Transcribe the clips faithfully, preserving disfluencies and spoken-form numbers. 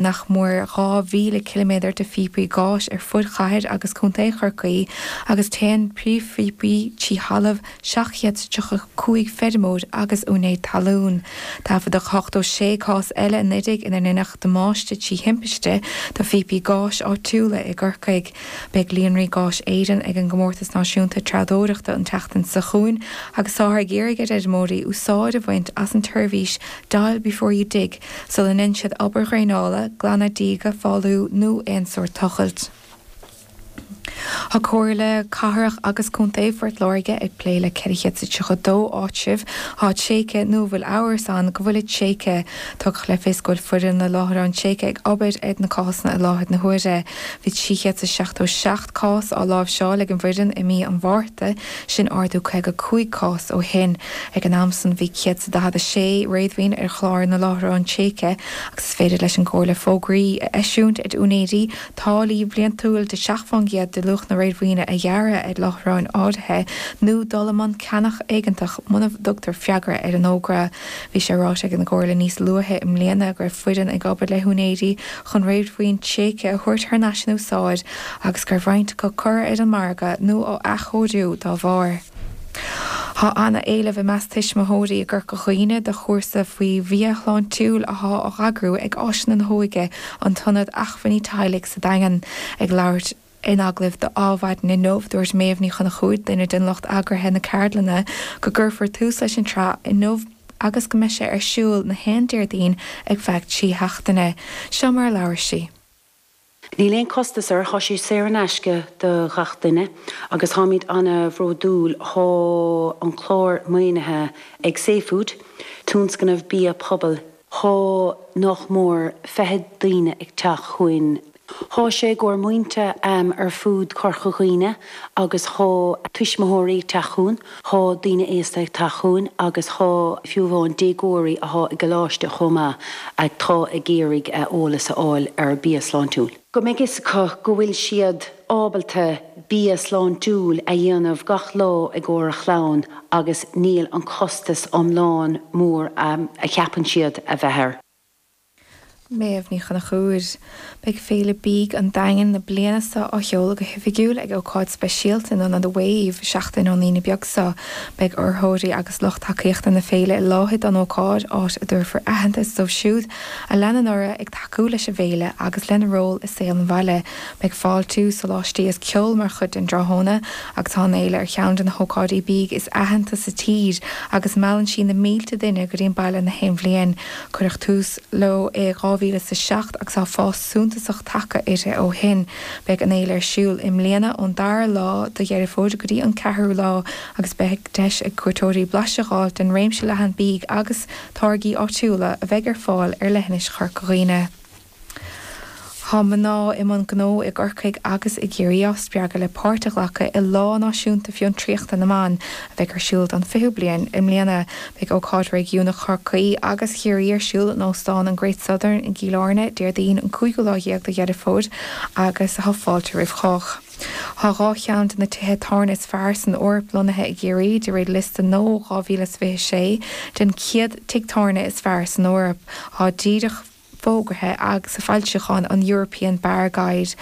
nach mór dhá mhíle ciliméadar de phíopaí gáis ar fud chathair agus contae Chorcaí agus téann príomhphíopaí trí thalamh seacht gcéad is tríocha cúig feirmeoir agus úinéir talún. Taifeadadh ochtó sé cás eile anuraidh inar deineadh damáiste trí thimpiste do phíopaí gáis áitiúla i gCorcaigh. Beidh Líonraí Gáis Éireann ag an gComórtas Náisiúnta Treabhdóireachta an tseachtain seo chugainn agus táthar ag iarraidh ar fheirmeoirí úsáid a bhaint as an tseirbhís Dial Before You Dig sula ndéanann siad obair dhraenála, glanadh díge, fálú nó aon sórt tochailt. Tá Comhairle Cathrach agus Contae Phort Láirge ag plé le ceithre chéad is tríocha dó áitreabh atá tréigthe nó a bhfuil amhras ann go bhfuilid tréigthe. Tugadh le fios go bhfuil foireann na láithreán tréigthe ag obair ar na cásanna i láthair na huaire. Bhí trí chéad is seachtó seacht cás á láimhseáil ag an bhfoireann i mí an Mhárta, sin ardú caoga cúig cás ó shin. Ag an am san bhí céad is daichead a sé réadmhaoin ar chlár na láithreán tréigthe agus is féidir leis an gComhairle fógraí a eisiúint ar úinéirí táillí bliantúil de seacht fán gcéad de luach na réadmhaoine a ghearradh ar láithreáin áirithe nó dul i mbun ceannach éigeantach muna dtugtar freagra ar an fhógra. Bhí sé ráite ag an gComhairle níos luaithe i mbliana go raibh foireann ag obair le húinéirí chun réadmhaoin tréigthe a thabhairt thar n-ais in úsáid agus go raibh roinnt acu curtha ar an margadh nó á athchóiriú dá bharr. Tá ana-éileamh i measc tuismitheoirí i gCorca Dhuibhne do chúrsa faoi bhia shláintiúil athá á eagrú ag Áiseanna na hÓige, an tIonad Acmhainní Teaghlaigh sa Daingean. Ag labhairt in agallamh do Adhmhaidin inniu, dúirt Méabh Ní Chonchúir, duine den lucht eagraithe na ceardlainne, go gcuirfear tús leis an tsraith inniu agus go mbeidh sé ar siúl na haon Déardaoin ar feadh trí sheachtaine. Seo mar a labhair sí. Níl aon costas air, thá sé saor in aisce do ghach duine agus tháimid ana-bhródúil, thá an clár maoinithe ag safefood, tionscnamh bia pobail. Thá nach mór fiche daoine ag teacht chugainn. Thá sé i gcomhair muintir ar fud Chorca Dhuibhne agus thá tuismitheoirí ag teacht chugainn, thá daoine aosta ag teacht chugainn agus thá fiú amháin déagóirí athá i gcoláiste chomh maith atá ag iarraidh eolas a fháil ar bia sláintiúil. Go mbeidh fhios acu go bhfuil siad ábalta bia sláintiúil a dhéanamh gach lá i gcomhair a chlann agus níl an costas iomlán mór a cheapann siad a bheith air. Méabh Ní Chonchúir. Beidh Féile Bídh an Daingin na bliana seo á sheoladh go hoifigiúil ag ócáid speisialta in Ionad Wave seachtain ón Aoine beag seo. Beidh urraitheoirí agus lucht tacaíochta na féile i láthair don ócáid, áit a dtabharfar aitheantas dóibh siúd a leanann orthu ag tacú leis an bhféile agus lena ról i saol an bhaile. Beidh fáiltiú, soláistí is ceol mar chuid den dtráthnóna agus tá an fhéile ar cheann de na hócáidí bídh is aitheanta sa tír agus meallann sí na mílte duine go dtí an baile na haon bhliain. Cuireadh tús leo i dhá mhíle is a seacht agus tá fás suntasach tagtha uirthi ó shin. Beidh an fhéile ar siúl i mbliana ón dara lá de Dheireadh Fómhair go dtí an ceathrú lá agus beidh deis ag cuairteoirí blaiseadh a fháil den réimse leathan bídh agus táirgí áitiúla a bheidh ar fáil ar leithinis Chorca Dhuibhne. Tá mná i mbun gnó i gCorcaigh agus i gCiarraí á spreagadh le páirt a ghlacadh i Lá Náisiúnta Fiontraíochta na mBan a bheidh ar siúl don fichiú bliain i mbliana. Beidh ócáid réigiúnach Chorcaí agus Chiarraí ar siúl in Óstán an Great Southern i gCill Airne Déardaoin an cúigiú lá dhéag de Dheireadh Fómhair agus tá fáilte roimh chách. Tá dhá cheann de na tithe tábhairne is fearr san Eoraip lonnaithe i gCiarraí, de réir liosta nua dhá mhíle is fiche sé den chéad tigh tábhairne is fearr san Eoraip. Tá díreach fógartha agus sa foilseachán an European Bar Guide.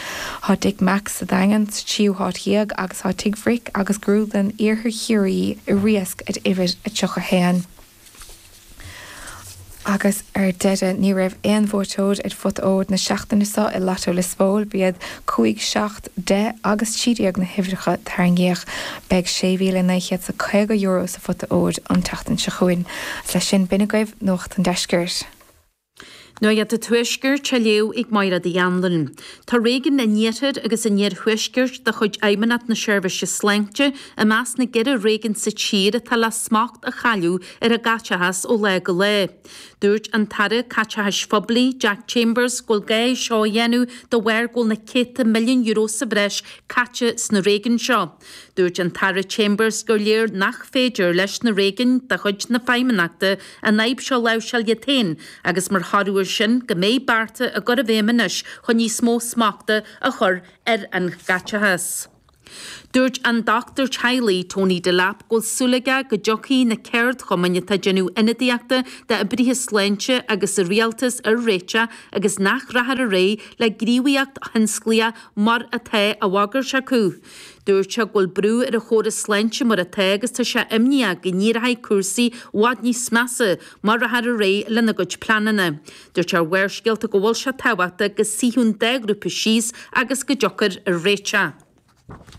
Tá Dick Mack's sa Daingean sa tríú háit dhéag agus tá Tigh Bhric agus Grúdlann Iarthar Chiarraí i Riasc at uimhir a tríocha haon. Agus ar deireadh, ní raibh aon bhuaiteoir ar phota óir na seachtaine seo i Lotto Liospóil, b'iad cúig, seacht, deich agus trí déag na huimhreacha a tarraingíodh. Beidh sé mhíle naoi chéad 's a caoga euro sa phota óir an tseachtain seo chugainn. Agus leis sin, b'in agaibh Nuacht an Deiscirt. Nuacht an Tuaiscirt á léamh ag Máire Uí Anluain. Tá réigiún an Iarthair agus an Iarthuaiscirt de chuid Fheidhmeannacht na Seirbhíse Sláinte i measc na gceithre réigiún sa tír atá le smacht a chailleadh ar a gcaiteachas ó lá go lá. Dúirt an tAire Caiteachais Phoiblí, Jack Chambers, go bhfuil gá é seo a dhéanamh de bharr go bhfuil na céadta milliún euro sa bhreis caite sna réigiúin seo. Dúirt an tAire Chambers gur léir nach féidir leis na réigiúin de chuid na Feidhmeannachta an fhadhb seo a láimhseáil iad féin agus mar thoradh air sin go mbeidh bearta á gcur i bhfeidhm anois chun níos mó smachta a chur ar an gcaiteachas. Dúirt an dochtúir teaghlaigh Tony Delap go bhfuil súil aige go dtiocfaidh na ceardchumainn atá ag déanamh ionadaíochta d'oibrithe sláinte agus an rialtas ar réiteach agus nach rachfar ar aghaidh le gníomhaíocht thionsclaíoch mar atá á bhagairt acu. Dúirt sé go bhfuil brú ar an chóras sláinte mar atá agus tá sé imníoch go n-éireoidh cúrsaí i bhfad níos measa má rachfar ar aghaidh lena gcuid pleananna. Dúirt sé ar Bharrscéalta go bhfuil sé tábhachtach go suífeadh an dá ghrúpa síos agus go dtiocfar ar réiteach.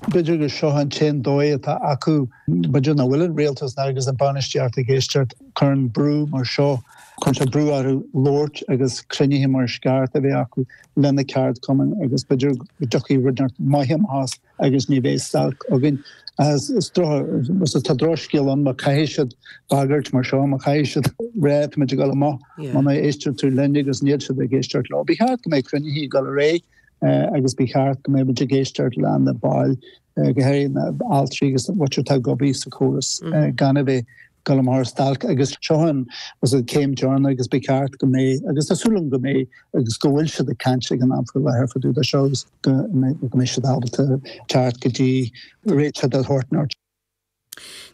B'fhéidir gur seo an t-aon dóigh atá acu b'fhéidir nach bhfuil an rialtas agus an bainistíocht ag éisteacht cuireann brú mar seo chun sé brú orthu labhairt agus cruinnithe mar is ceart a bheith acu lena ceardchumainn agus b'fhéidir go dtiocfaidh rud maith amach as agus ní bheidh stailc againn. Is tá drochscéal ann má chaithfidh siad bagairt mar seo má chaithfidh siad rá táimid ag dul amach muna éistear tú linn agus níl siad ag éisteacht leo. Ba cheart go mbeidh cruinnithe ag dul ar aghaidh agus ba cheart go mbeidh ag éisteacht le na baill go háirithe na altraí agus muintir atá ag obair sa chóras gan a bheith dul amach ar stailc agus seo an was an céim deireanach agus ba cheart go mbeidh agus tá súil agam go mbeidh agus go bhfuil siad ag caint ag an am faoi láthair fá dtaobh de seo agus go mbeidh siad ábalta teacht go dtí réiteach de shórt.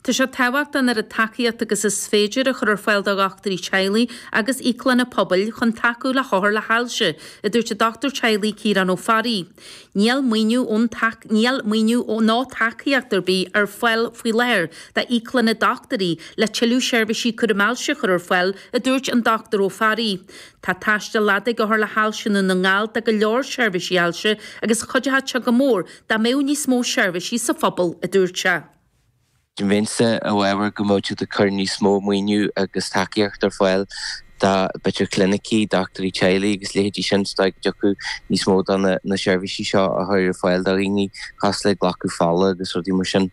Tá sé tábhachtach an oiread tacaíocht agus is féidir a chur ar fáil do dhochtúirí teaghlaigh agus íoclanna pobail chun tacú le hothair le hailse, a dúirt an dochtúir teaghlaigh Ciarán Ó Fearraigh. Níl maoiniú ón níl maoiniú ná tacaíocht ar bith ar fáil faoi láthair d'íoclanna dochtúirí le tuilleadh seirbhísí cúraim ailse a chur ar fáil, a dúirt an Dochtúir Ó Fearraigh. Tá taisteal fada ag othair le hailse i nDún na nGall do go leor seirbhísí ailse agus chuideodh sé go mór dá mbeadh níos mó seirbhísí sa phobal, a dúirt sé. Bheinnse i bhfabhar go mbeadh siad ag cur níos mó maoiniú agus tacaíocht ar fáil do b'fhéidir clinicí, dochtúirí teaghlaigh agus leithéidí sin sa dóigh go dtiocfadh níos mó de na seirbhísí seo a chur ar fáil do dhaoine cosúil le glacadh fola agus rudaí mar sin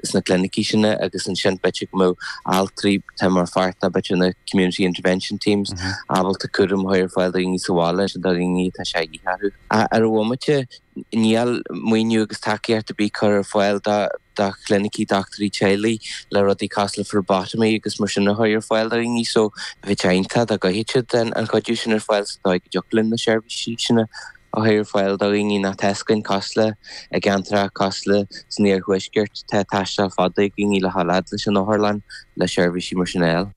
sna clinicí sin agus ansin b'fhéidir go mbeadh altraí atá mar pháirt de b'fhéidir na community intervention teams ábalta cúram a chur ar fáil do dhaoine sa bhaile sin do dhaoine atá sé dhíth orthu. Ar an bhomaite níl maoiniú agus tacaíocht ar bith curtha ar fáil do do chlinicí dochtúirí teaghlaigh le rudaí cosúil le phlebotomy agus mar sin a chur ar fáil do dhaoine so bheadh sé iontach dá gcuirfeadh siad an chuidiú sin ar fáil sa dóigh go dtiocfadh linn na seirbhísí sin a chur ar fáil do dhaoine nach teascainn cosúil le i gceantracha cosúil le san iarthuaisceart tá taisteal fada ag daoine le dhul fhad leis an otharlann le seirbhísí mar sin a fháil.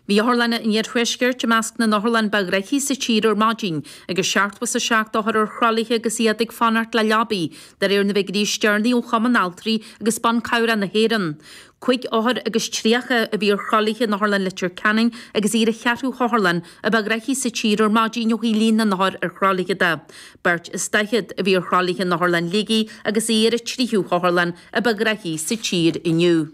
Bhí otharlanna an Iarthuaiscirt i measc na n-otharlann ba ghnoithí sa tír ar maidin, agus seachtó is a seacht othar ar thralaithe agus iad ag fanacht le leabaí, de réir na bhfigiúirí is deireanaí ó Chumann Altraí agus Ban Cabhrach na hÉireann. Cúig othar agus tríocha a bhí ar thralaithe in Otharlann Leitir Ceanainn agus í ar an cheathrú hotharlann a ba ghnoithí sa tír ar maidin ó thaobh líon na n-othar ar thralaithe de. Beirt is daichead a bhí ar thralaithe in Otharlann Shligigh agus í ar an tríú hotharlann a ba ghnoithí sa tír inniu.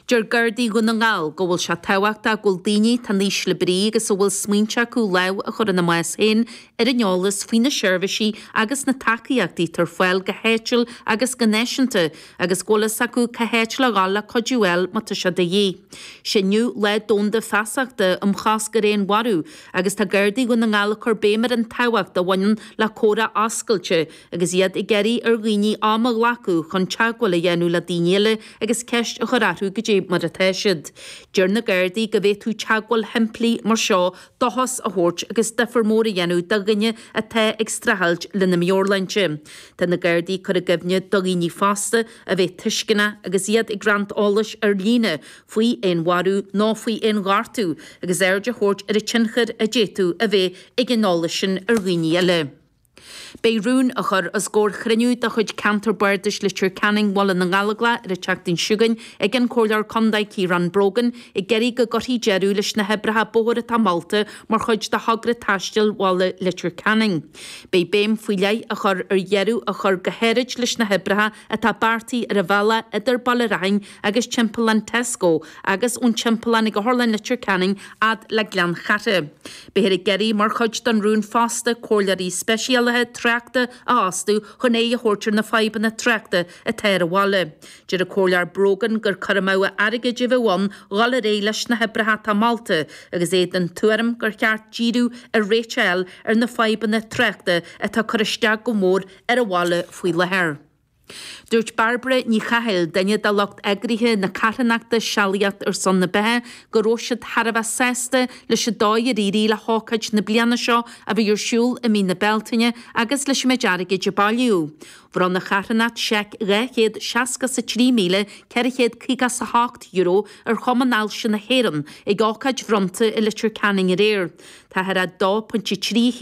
Deir Gardaí Dhún na nGall go bhfuil sé tábhachtach go bhfuil daoine atá in ísle brí agus a bhfuil smaointe acu lámh a chur ina mbás féin ar an eolas faoi na seirbhísí agus na tacaíochtaí atá ar fáil go háitiúil agus go náisiúnta agus go bhfuil fhios acu cá háit le dhul le cuidiú a fháil má tá sé de dhíth. Sé inniu Lá Domhanda Feasachta um Chosc ar Fhéinmharú agus tá Gardaí Dhún na nGall ag cur béim ar an tábhacht a bhaineann le comhrá oscailte agus iad ag iarraidh ar dhaoine am a ghlacadh chun teagmháil a dhéanamh le daoine eile agus ceist a chur orthu goidé mar atá siad. Deir na Gardaí go bhféadfadh teagmháil shimplí mar seo dóchas a thabhairt agus difear mór a dhéanamh do dhuine atá ag streachailt lena meabhairshláinte. Tá na Gardaí ag cur i gcuimhne do dhaoine fosta a bheith tuisceanach agus iad ag roinnt eolais ar líne faoi fhéinmharú nó faoi fhéinghortú agus aird a thabhairt ar an tionchar a d'fhéadfadh a bheith ag an eolas sin ar dhaoine eile. Beidh rún á chur os comhair chruinniú de chuid Ceantar Bardais Leitir Ceanainn Bhaile na nGallóglach ar an tseachtain seo chugainn ag an Comhairleoir Contae Ciarán Brogan ag iarraidh go gcuirfí deireadh leis na hoibreacha bóthair atá molta mar chuid de thogra taistil bhaile Leitir Ceanainn. Beidh béim faoi leith á chur ar dheireadh a chur go háirid leis na hoibreacha atá beartaithe ar an bhealach idir Baile Raithin agus timpeallán Tesco agus ón timpeallán ag Otharlann Leitir Ceanainn fhad le Gleann Chatha. Beifear ag iarraidh mar chuid den rún fosta comhairleoirí speisialaithe tráchta a fhostú chun aghaidh a thabhairt ar na fadhbanna tráchta atá ar an bhaile. Deir an Comhairleoir Brogan gur cur amú airgid a bheadh ann dhul ar aghaidh leis na hoibreacha atá molta agus é den tuairim gur cheart díriú ar réiteach a fháil ar na fadhbanna tráchta atá ag cur isteach go mór ar an bhaile faoi láthair. Dúirt Bairbre Ní Chathail, duine de lucht eagraithe na carthanachta Sealaíocht ar son na Beatha, go raibh siad thar a bheith sásta leis an dóigh ar éirigh le hócáid na bliana seo a bhí ar siúl i mí na Bealtaine agus leis an méid airgid a bailíodh. Bhronn an charthanacht seic dhá chéad seasca 's a trí míle ceithre chéad caoga 's a hocht euro ar Chumann Ailse na hÉireann ag ócáid bhronnta i Leitir Ceanainn aréir. Táthar a dó pointe trí haon